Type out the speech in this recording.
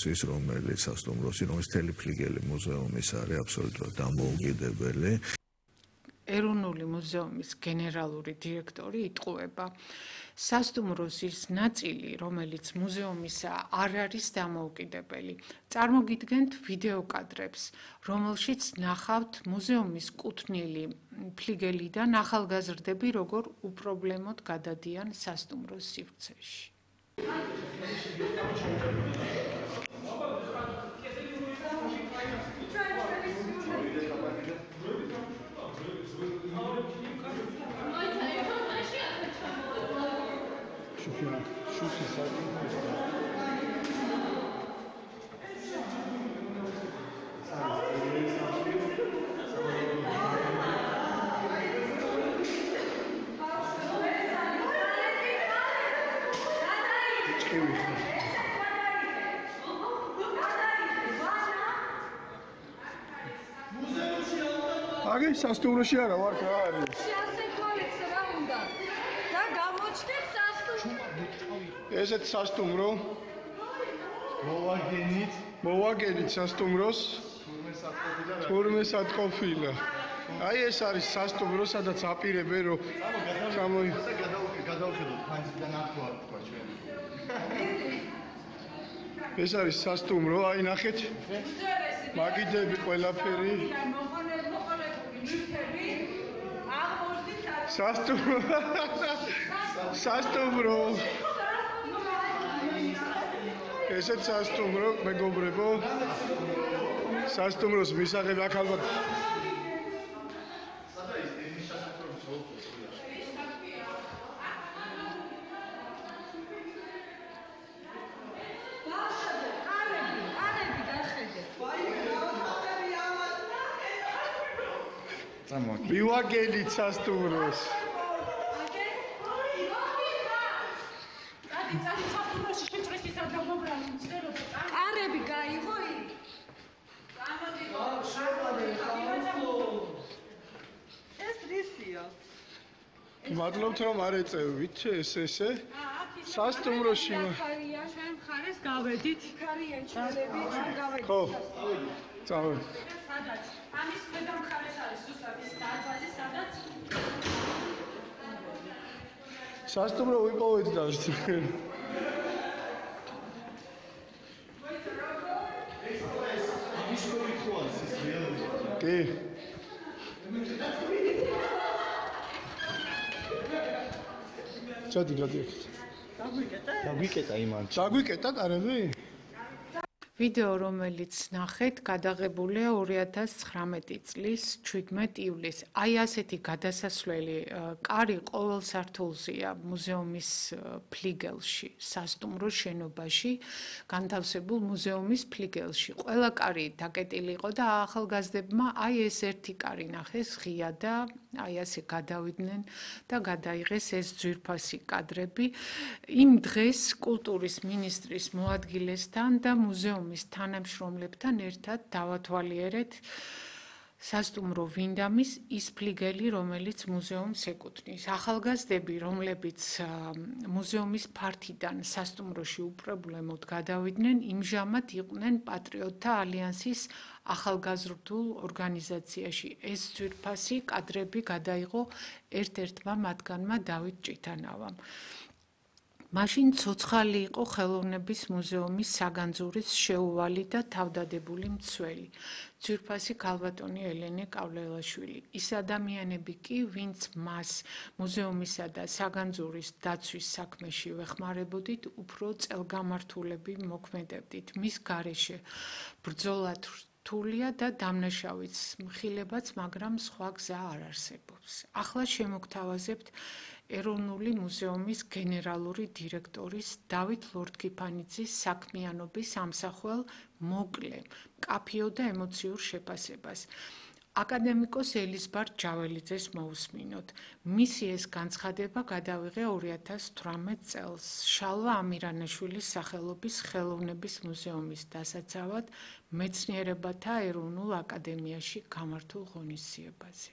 ის რომელიც სასტუმროს თელი ფლიგელი მუზეუმის არის აბსოლუტურად დამოუკიდებელი. ეროვნული მუზეუმის გენერალური დირექტორი იტყუება, სასტუმროს ის ნაწილი, რომელიც მუზეუმისა არ არის დამოუკიდებელი. წარმოგიდგენთ ვიდეო კადრებს, რომელშიც ნახავთ მუზეუმის კუთვნილი ფლიგელიდან ახალგაზრდები როგორ უპრობლემოდ გადადიან სასტუმროს სივრცეში. აგე სასტუმროში არა ვარ რა არის? შეასრულეთ რა უნდა? და გამოჩნდეთ სასტუმრო. ესეთ სასტუმრო მოვაგენით სასტუმროს თურმე სათყოფილა. აი ეს არის სასტუმრო, სადაც აპირებენ რომ გადავხედოთ ფანჯრიდან ახლა თქვა ჩვენ. ეს არის სასტუმრო, აი ნახეთ. მაგიდები ყველაფერი. სასტუმრო. ესეც სასტუმრო, მეგობრებო. სასტუმროს მისაღები აქ ალბათ მივაგენით სასტუმროს. კარები გაიღო იქ. ეს რისია? მადლობთ რომ არ ეწევით ესე. სასტუმროში ჩვენ მხარეს გავედით. ქარიან ჩალები ჩვენ გავედით. ხო. წავედით. სადაც? ამის ქვედა მხარეს არის ზუსტად ის დარბაზი, სადაც სასტუმრო ვიპოვეთ და კი. ჩადი გადიეთ. დაგვიკეტა იმან. დაგვიკეტა კარები? ვიდეო, რომელიც ნახეთ, გადაღებულია 2019 წლის 17 ივლისს. აი ასეთი გადასასვლელი კარი ყოველ სართულზეა მუზეუმის ფლიგელში, სასტუმროს შენობაში, განთავსებულ მუზეუმის ფლიგელში. ყველა კარი დაკეტილი იყო და ახალგაზრდებმა აი ეს ერთი კარი ნახეს ღია და აი ასე გადავიდნენ და გადაიღეს ეს ძვირფასი კადრები. იმ დღეს კულტურის მინისტრის მოადგილესთან და მუზეუმის თანამშრომლებთან ერთად დავათვალიერეთ სასტუმრო ვინდამის ის ფლიგელი, რომელიც მუზეუმს ეკუთვნის. ახალგაზრდები, რომლებიც მუზეუმის ფართიდან სასტუმროში უპრობლემოდ გადავიდნენ, იმჟამად იყვნენ პატრიოტთა ალიანსის ახალგაზრდულ ორგანიზაციაში. ეს ძვირფასი კადრები გადაიღო ერთ-ერთმა მათგანმა დავით ჭიტანავამ. მაშინ ცოცხალი იყო ხელოვნების მუზეუმის საგანძურის შეუვალი და თავდადებული მცველი, ძვირფასი ქალბატონი ელენე კავლელაშვილი. ის ადამიანები კი, ვინც მას მუზეუმისა და საგანძურის დაცვის საქმეში ვეხმარებოდით, უფრო წელგამართულები მოქმედებდით. მის გარეშე ბრძოლა რთულია და დამნაშავეც მხილებაც, მაგრამ სხვა გზა არ არსებობს. ახლა შემოგთავაზებთ ეროვნული მუზეუმის გენერალური დირექტორის დავით ლორთქიფანიძის საქმიანობის ამსახველ მოკლე, მკაფიო და ემოციურ შეფასებას. აკადემიკოს ელიზბარ ჯაველიძეს მოусმინოთ. მისი ეს განცხადება გადავიღე 2018 წელს შალვა ამირანაშვილის სახელობის ხელოვნების მუზეუმის დასაცავად მეცნიერებათა ეროვნულ აკადემიაში გამართულ ღონისძიებაზე.